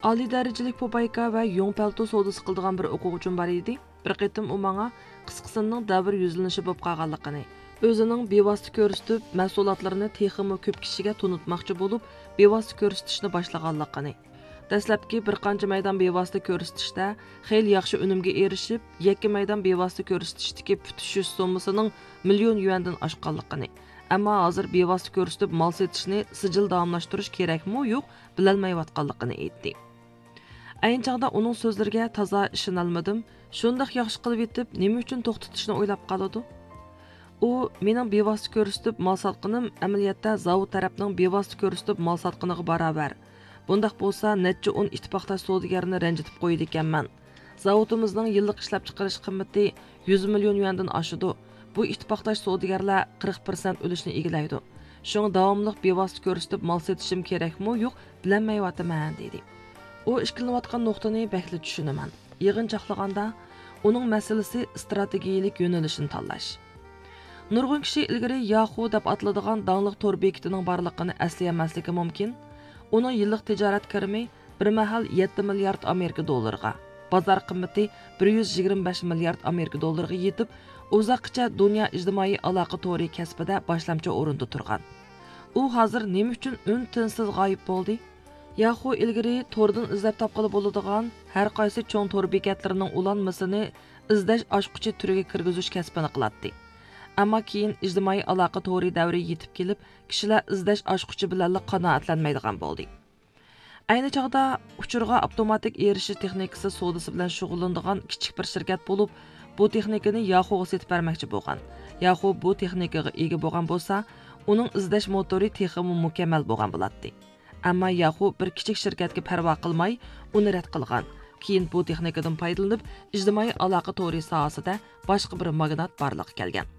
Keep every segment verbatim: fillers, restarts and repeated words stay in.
ئالىي دەرىجىلىك پوپايكا ۋە يۇڭ پەلتو سودىسى قىلىدىغان بىر ئوقۇغۇچىم بار ئىدى. بىر قېتىم ئۇ ماڭا قىسقىسىنىڭ دەۋر يۈزلىنىشى بولۇپ قالغانلىقىنى، ئۆزىنىڭ بىۋاسىتە كۆرسىتىپ مەھسۇلاتلىرىنى تېخىمۇ كۆپ كىشىگە تونۇتماقچى بولۇپ، بىۋاسىتە كۆرسىتىشنى باشلىغانلىقىنى، دەسلەپكى بىر قانچە مەيدان بىۋاسىتە كۆرسىتىشتە خېلى ياخشى ئۈنۈمگە ئېرىشىپ، يەككە مەيدان بىۋاسىتە كۆرسىتىشتىكى پۈتۈشۈش سوممىسىنىڭ مىليون يۈەندىن ئاشقانلىقىنى، ئەمما ھازىر بىۋاسىتە كۆرسىتىپ مال سېتىشنى سىجىل داۋاملاشتۇرۇش كېرەكمۇ يوق، بىلەلمەيۋاتقانلىقىنى ئېيتتى. ئەينى چاغدا ئۇنىڭ سۆزلىرىگە تازا ئىشىنالمىدىم. شۇنداق ياخشى قىلىۋېتىپ، نېمە ئۈچۈن توختىتىشنى ئويلاپ قالىدۇ؟ ئۇ، مېنىڭ بىۋاسىتە كۆرسىتىپ مال ساتقىنىم ئەمەلىيەتتە زاۋۇت تەرەپنىڭ بىۋاسىتە كۆرسىتىپ مال ساتقىنىغا باراۋەر. بۇنداق بولسا، نەچچە ئون ئىتتىپاقداش سودىگەرنى رەنجىتىپ قويىدىكەنمەن. زاۋۇتىمىزنىڭ يىللىق ئىشلەپچىقىرىش قىممىتى يۈز مىليون يۈەندىن ئاشىدۇ. بۇ ئىتتىپاقداش سودىگەرلەر قىرىق پىرسەنت ئۈلۈشنى ئىگىلەيدۇ. شۇڭا داۋاملىق بىۋاسىتە كۆرسىتىپ مال سېتىشىم كېرەكمۇ يوق، بىلەلمەيۋاتىمەن، دېدى. ئۇ ئىككىلىنىۋاتقان نۇقتىنى بەكلا چۈشىنىمەن. يىغىنچاقلىغاندا، ئۇنىڭ مەسىلىسى ئىستراتېگىيىلىك يۆنىلىشنى تاللاش. نۇرغۇن كىشى ئىلگىرى ياخۇ دەپ ئاتىلىدىغان داڭلىق تور بېكىتىنىڭ بارلىقىنى ئەسلىيەلمەسلىكى مۇمكىن. ئۇنىڭ يىللىق تىجارەت كىرىمى بىر مەھەل يەتتە مىليارد ئامېرىكا دوللىرىغا، بازار قىممىتى بىر يۈز يىگىرمە بەش مىليارد ئامېرىكا دوللىرىغا يېتىپ، ئۇزاققىچە دۇنيا ئىجتىمائىي ئالاقە تورى كەسپىدە باشلامچى ئورۇندا تۇرغان. ئۇ ھازىر نېمە ئۈچۈن ئۈن-تىنسىز غايىب بولدى؟ ياخۇ ئىلگىرى توردىن ئىزدەپ تاپقىلى بولىدىغان ھەر قايسى چوڭ تور بېكەتلىرىنىڭ ئۇلانمىسىنى ئىزدەش ئاچقۇچى تۈرىگە كىرگۈزۈش كەسپىنى قىلاتتى. ئەمما كېيىن ئىجتىمائىي ئالاقە تورى دەۋرى يېتىپ كېلىپ، كىشىلەر ئىزدەش ئاچقۇچى بىلەنلا قانائەتلەنمەيدىغان بولدى. ئەينى چاغدا ئۇچۇرغا ئاپتوماتىك ئېرىشىش تېخنىكىسى سودىسى بىلەن شۇغۇللىنىدىغان كىچىك بىر شىركەت بولۇپ، بۇ تېخنىكىنى ياخۇغا سېتىپ بەرمەكچى بولغان. ياخۇ بۇ تېخنىكىغا ئىگە بولغان بولسا، ئۇنىڭ ئىزدەش موتورى تېخىمۇ مۇكەممەل بولغان بولاتتى. ئەمما ياخۇ بىر كىچىك شىركەتكە پەرۋا قىلماي، ئۇنى رەت قىلغان. كېيىن بۇ تېخنىكىدىن پايدىلىنىپ، ئىجتىمائىي ئالاقە تورى ساھەسىدە باشقا بىر ماگنات بارلىققا كەلگەن.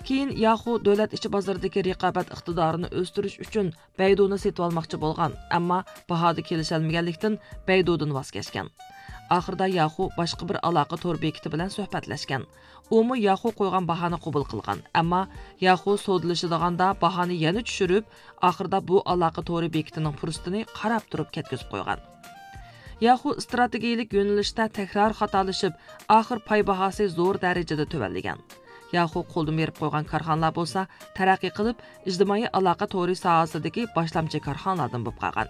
كېيىن ياخۇ دۆلەت ئىچى بازىرىدىكى رىقابەت ئىقتىدارىنى ئۆستۈرۈش ئۈچۈن بەيدۇنى سېتىۋالماقچى بولغان، ئەمما باھادا كېلىشەلمىگەنلىكتىن، بەيدۇدىن ۋاز كەچكەن. ئاخىرىدا ياخۇ باشقا بىر ئالاقە تور بېكىتى بىلەن سۆھبەتلەشكەن. ئۇمۇ ياخۇ قويغان باھانى قوبۇل قىلغان، ئەمما ياخۇ سودىلىشىدىغاندا باھانى يەنە چۈشۈرۈپ، ئاخىرىدا بۇ ئالاقە تورى بېكىتىنىڭ پۇرسىتىنى قاراپ تۇرۇپ كەتكۈزۈپ قويغان. ياخۇ ئىستراتېگىيىلىك يۆنىلىشتە تەكرار خاتالىشىپ، ئاخىر پاي باھاسى زور دەرىجىدە تۆۋەنلىگەن. ياخۇ قولدىن بېرىپ قويغان كارخانىلار بولسا تەرەققىي قىلىپ، ئىجتىمائىي ئالاقە تورى ساھەسىدىكى باشلامچى كارخانىلاردىن بولۇپ قالغان.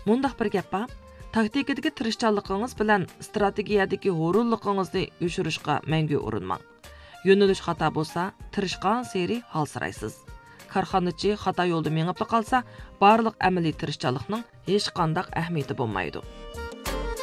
مۇنداق بىر گەپ بار، تاكتىكىدىكى تىرىشچانلىقىڭىز بىلەن ئىستراتېگىيەدىكى ھۇرۇنلۇقىڭىزنى يوشۇرۇشقا مەڭگۈ ئۇرۇنماڭ. يۆنىلىش خاتا بولسا، تىرىشقانسېرى ھالسىرايسىز. كارخانىچى خاتا يولدا مېڭىپلا قالسا، بارلىق ئەمەلىي تىرىشچانلىقنىڭ ھېچقانداق ئەھمىيىتى بولمايدۇ.